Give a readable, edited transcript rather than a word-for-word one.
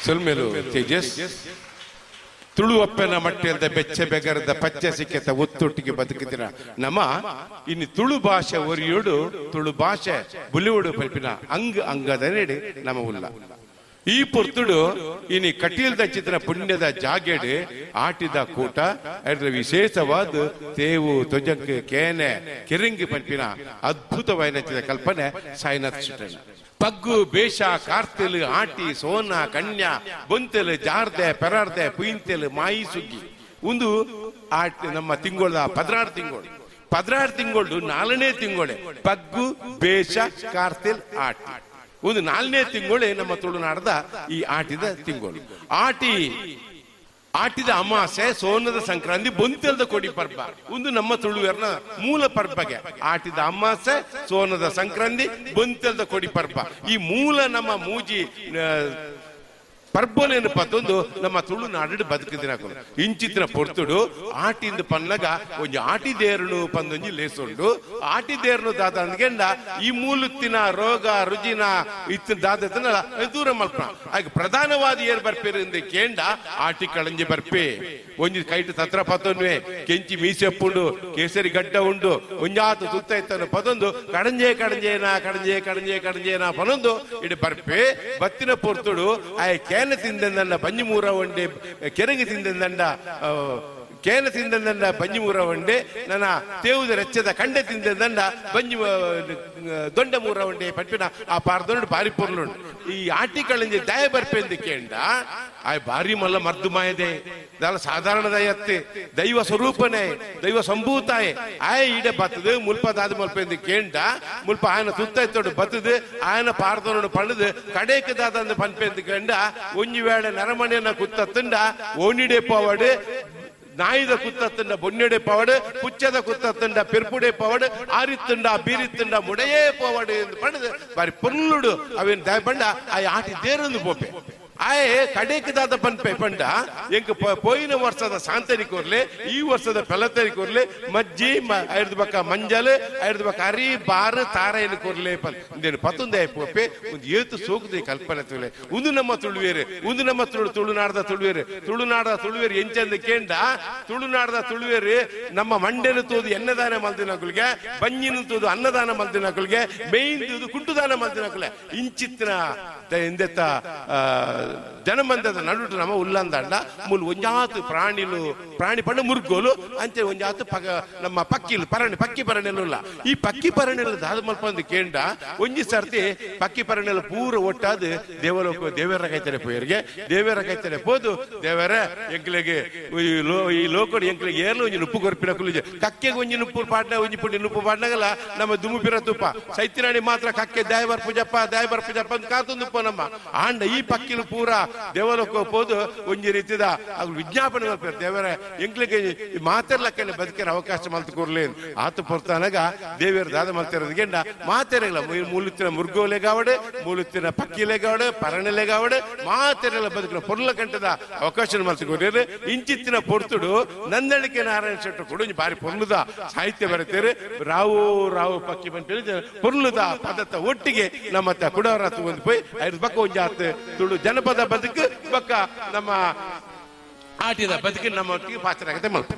ಸೊಲ್ಮೆಲು ತೇಜಸ್ ತುಳುವಪ್ಪನ ಮಟ್ಟಿಯಲ್ದ ಬೆಚ್ಚ ಬೆಗರದ ಪಚ್ಚೆ ಸಿಕ್ಕೆತ ಒತ್ತೊಟ್ಟಿಗೆ ಬದುಕಿದಿರ ನಮ್ಮ ಇನ್ನು ತುಳು ಭಾಷೆ ಒರಿಯೋಡು ತುಳು ಭಾಷೆ ಬುಲಿವುಡು ಪಲ್ಪಿನ ಅಂಗ ಅಂಗದ ನೆಡೆ ನಮ್ಮ ಉಲ್ಲ. ಈ ಪೊರ್ತುಡು ಇನಿ ಕಟೀಲ್ದ ಚಿತ್ರ ಪುಣ್ಯದ ಜಾಗೆಡ್ ಆಟಿದ ಕೂಟ ಅದರ ವಿಶೇಷವಾದ ತೇವು ತೊಜಂಕ್ ಕೇನೆ ಕೆರಿಂಗಿ ಪಲ್ಪಿನ ಅದ್ಭುತವಾದ ಕಲ್ಪನೆ ಸಾಯಿನಾಥ್ ಶೆಟ್ಟಣ್ಣ. ಪಗ್ಗು ಬೇಷ ಕಾರ್ತೆಲು ಆಟಿ ಸೋನ ಕನ್ಯಾ ಬೊಂತೆಲು ಜಾರ್ದೆ ಪೆರಾರ್ದೆ ಪುಯಿಂತೆಲು ಮಾಯಿ ಸುಗ್ಗಿ ಒಂದು ಆಟಿ ನಮ್ಮ ತಿಂಗಳ 16 ತಿಂಗಳು 16 ತಿಂಗಳು 4ನೇ ತಿಂಗಳೇ ಪಗ್ಗು ಬೇಷ ಕಾರ್ತೆಲ್ ಆಟಿ ಒಂದು 4ನೇ ತಿಂಗಳೇ ನಮ್ಮ ತುಳುನಾಡದ ಈ ಆಟಿದ ತಿಂಗಳು. ಆಟಿ ಆಟಿದ ಅಮಾಸೆ ಸೋನದ ಸಂಕ್ರಾಂತಿ ಬೊಂತೆಲ್ದ ಕೊಡಿ ಪರ್ಬ ಒಂದು ನಮ್ಮ ತುಳುವೆರ್ನ ಮೂಲ ಪರ್ಬಗೆ. ಆಟಿದ ಅಮಾಸೆ ಸೋನದ ಸಂಕ್ರಾಂತಿ ಬೊಂತೆಲ್ದ ಕೊಡಿ ಪರ್ಬ ಈ ಮೂಲ ನಮ್ಮ ಮೂಜಿ ಪರ್ಬನೇನು ಪತ್ತೊಂದು ನಮ್ಮ ತುಳುನಾಡು ಬದುಕಿದಿನ ಇಂಚಿತ್ತಿನ ಪೊರ್ತುಡು ಆಟಿಂದ ಪನ್ನಗ ಒಂಜಿ ಆಟಿ ದೇರುನು ಪಂದೊಂಜಿ ಲೇಸುಂಡು. ಆಟಿ ದೇರುನು ದಾದ ಅಂದ್ಗೆಂಡ ಈ ಮೂಲುತ್ತಿನ ರೋಗ ರುಜಿನ ಇತ್ತಿನ ದಾದತನ ದೂರ ಮಲ್ಪ. ಹಾಗೆ ಪ್ರಧಾನವಾದ ಏರ್ ಬರ್ಪೇರು ಕೇಂಡ ಆಟಿ ಕಳಂಜಿ ಬರ್ಪೆ ಒಂಜಿ ಕೈಟು ತತ್ರ ಪತ್ತೊನ್ವೆ ಕೆಂಚಿ ಮೀಸೆಪ್ಪುಂಡು ಕೇಸರಿ ಗಡ್ಡ ಉಂಡು ಒಂಜಾತು ತುತ್ತ ಇತ್ತನು ಪದೊಂದು ಕಡಂಜೆ ಕಡಂಜೇನ ಕಡಂಜೆ ಕಡಂಜೆ ಕಡಂಜೇನ ಪನೊಂದು ಇಡಿ ಬರ್ಪೆ ಬತ್ತಿನ ಪೊರ್ತುಡು ಆಯ್ ಕೇನ ತಿಂದಂಡ ಬಂಜಿ ಮೂರ ಒಂಡೆ ಕೆರಂಗಿ ತಿಂದಂಡ ಕೇನ ತಿಂದಂಡ ಬಂಜಿ ಮೂರ ಒಂಡೆ ನನ್ನ ತೇವುದ ರೆಚ್ಚದ ಕಂಡೆ ತಿಂದಂಡ ಬಂಜಿ ದೊಂಡ ಮೂರ ಒಂಡೆ ಪಟ್ಪಿನ ಆ ಪಾರದೊಂಡು ಬಾರಿ ಪೊರ್ಲುಂಡು. ಈ ಆಟಿ ಕಳಂಜಿ ದಯ ಬರ್ಪೆಂದು ಕೇಂಡ ಆಯ್ ಬಾರಿ ಮಲ್ಲ ಮರ್ದು ಮಾಯದೆ ದಾಲ ಸಾಧಾರಣದಯತ್ತೆ ದೈವ ಸ್ವರೂಪನೇ ದೈವ ಸಂಭೂತಾಯೆ ಆಯ್ ಈಡೆ ಬತ್ತದು ಮುಲ್ಪ ದಾದ ಮಲ್ಪೆಂದು ಕೇಂಡ ಮುಲ್ಪ ಆಯನ ತುತ್ತೈತೋಡು ಬತ್ತದು ಆಯನ ಪಾರದೊಂಡು ಪಣ್ಣದು ಕಡೇಕ ದಾದಂದು ಪನ್ಪೆಂದು ಕೇಂಡ ಒಂಜಿ ವೇಳೆ ನರಮನೆಯನ್ನ ಕುತ್ತತ್ತಂಡ ಓನಿಡೆ ಪವಾಡು ನಾಯಿದ ಕುತ್ತತ್ತಂಡ ಬೊನ್ನೆಡೆ ಪವಾಡು ಪುಚ್ಚದ ಕುತ್ತತ್ತಂಡ ಪೆರ್ಪುಡೆ ಪವಾಡು ಆರಿತ್ತಂಡ ಬೀರಿತ್ತಂಡ ಮುಡೆಯೇ ಪವಾಡು ಎಂದು ಪಣ್ಣದು ಬಾರಿ ಪೊರ್ಲುಡು ಅವೇನು ದಯ ಪಂಡ ಆ ಆಟಿ ದೇರೊಂದು ಪೋಪೆ ಆಯೆ ಕಡೇಕದಾದ ಪನ್ಪೆ ಪಂಡ ಎಂಕ್ ಪೋಯಿನ ವರ್ಷದ ಸಾಂತರಿ ಕೋರ್ಲೆ ಈ ವರ್ಷದ ಪೆಲತರಿ ಕೋರ್ಲೆ ಮಜ್ಜಿ ಐದು ಬಕ್ಕ ಮಂಜಲ್ ಐದು ಬಕ್ಕ ಅರಿ ಬಾರು ತಾರೆಯನ್ನು ಕೋರ್ಲೆ ಪನ್ ಇಂದೇನು ಪತ್ತೊಂದೇ ಪೋಪೆ ಒಂದು ಏತು ಸೋಕುದೆ ಕಲ್ಪನೆ ತುಳೆ ಒಂದು ನಮ್ಮ ತುಳುವೇರು ಒಂದು ನಮ್ಮ ತುಳು ತುಳುನಾಡದ ತುಳುವೇರು ತುಳುನಾಡದ ತುಳುವೇರು ಎಂಚಂದ ಕೇಂಡ ತುಳುನಾಡದ ತುಳುವೇರು ನಮ್ಮ ಮಂಡೆನು ತೋದು ಎನ್ನದಾನ ಮಲ್ದಿನಕುಲ್ಗೆ ಬಂಜಿನ ತೋದು ಅನ್ನದಾನ ಮಲ್ದಿನಕುಲ್ಗೆ ಮೇಯ್ನ್ ತೂದು ಕುಂಟುದಾನ ಮಲ್ದಿನಕುಲೆ ಇಂಚಿತ್ತಿನ ಎಂದೆತ್ತ ಜನಮಂದದ ನಡುಟು ನಮ್ಮ ಉಲ್ಲಂದಂಡ ಮುಲ್ ಒಂಜಾತು ಪ್ರಾಣಿಲು ಪ್ರಾಣಿ ಪಂಡ ಮುರ್ಗೋಲು ಅಂಚೆ ಒಂಜಾತು ಪಗ ನಮ್ಮ ಪಕ್ಕಿಲು ಪರಣಿ ಪಕ್ಕಿ ಪರಣೆಲ್ಲ. ಈ ಪಕ್ಕಿ ಪರಣೆಲ್ಲ ದಾದ ಮಲ್ಪಂದು ಕೇಂಡ ಒಂಜಿ ಸರ್ತಿ ಪಕ್ಕಿ ಪರಣೆಲ್ಲ ಪೂರ ಒಟ್ಟಾದ ದೇವಲೋಕ ದೇವರ ಕೈತರೆ ಪೋಯರಿಗೆ ದೇವರ ಕೈತರೆ ಪೋದು ದೇವರ ಎಂಕ್ಲೆಗೆ ಈ ಲೋಕಡು ಎಂಕ್ಲೆಗೆ ಏರ್ಲು ಒಂಜಿ ನುಪ್ಪು ಕೊರ್ಪಿನ ಕುಲಿಜೆ ಕಕ್ಕೆಗೆ ಒಂಜಿ ನುಪ್ಪು ಪಾಡ್ನ ಒಂಜಿ ಪುಂಡಿ ನುಪ್ಪು ಪಾಡ್ನಾಗಲ್ಲ ನಮ್ಮ ದುಮ್ಮು ಪಿರ ತುಪ್ಪ ಸೈತಿನಾಣಿ ಮಾತ್ರ ಕಕ್ಕೆ ದಾಯಬರ್ ಪೂಜಪ್ಪ ದಾಯಬರ್ ಪೂಜಪ್ಪ ಅಂತ ಕಾತೊಂದು ನಮ್ಮ ಆಂಡ ಈ ಪಕ್ಕಿಲು ಪೂರ ದೇವಲೋಕ ಪೋದು ಒಂಜಿ ರೀತಿದ ಅವು ವಿಜ್ಞಾಪನೆ ಮಲ್ಪೇರು ದೇವರ ಎಂಕ್ಲಿಗೆ ಮಾತೆರ್ಲಕ್ಕನೆ ಬದುಕಿನ ಅವಕಾಶ ಮಲ್ತು ಕೊರ್ಲಿ ಆತು ಪೊರ್ತಾನಾಗ ದೇವಿಯರ ದಾದ ಮಲ್ತಿರೋದಕ್ಕೆ ಮಾತೆರಲ್ಲ ಮೂಲುತ್ತಿನ ಮುರ್ಗೋಲೆಗಾವಡೆ ಮೂಲುತ್ತಿನ ಪಕ್ಕಿಲೆಗಾವಡೆ ಪರಣೆಲೆಗಾವಡೆ ಮಾತೆರೆಲ್ಲ ಬದುಕಿನ ಪೊರ್ಲ ಗಂಟದ ಅವಕಾಶ ಮಲ್ತು ಕೊರ್ಲಿ. ಇಂಚಿತ್ತಿನ ಪೊರ್ತುಡು ನಂದಳಿಕೆ ನಾರಾಯಣ ಶೆಟ್ಟರು ಕೂಡ ಬಾರಿ ಪೊರ್ಲುದ ಸಾಹಿತ್ಯ ಬರೀತಾರೆ. ರಾವು ರಾವು ಪಕ್ಕಿ ಬಂತ ಪೊರ್ಲುದ ಪದತ್ತ ಒಟ್ಟಿಗೆ ನಮ್ಮ ಕುಡವರ ಒಂದು ಪೋಯ್ ಐದು ಬಕ್ಕ ಒಂಜಾತ್ ತುಳು ಜನಪದ ಬದುಕು ಬಕ್ಕ ನಮ್ಮ ಆಟಿದ ಬದುಕು ನಮ್ಮ ಒಟ್ಟಿಗೆ ಪಾತ್ರ ಆಗತ್ತೆ ಮಲ್ಪ.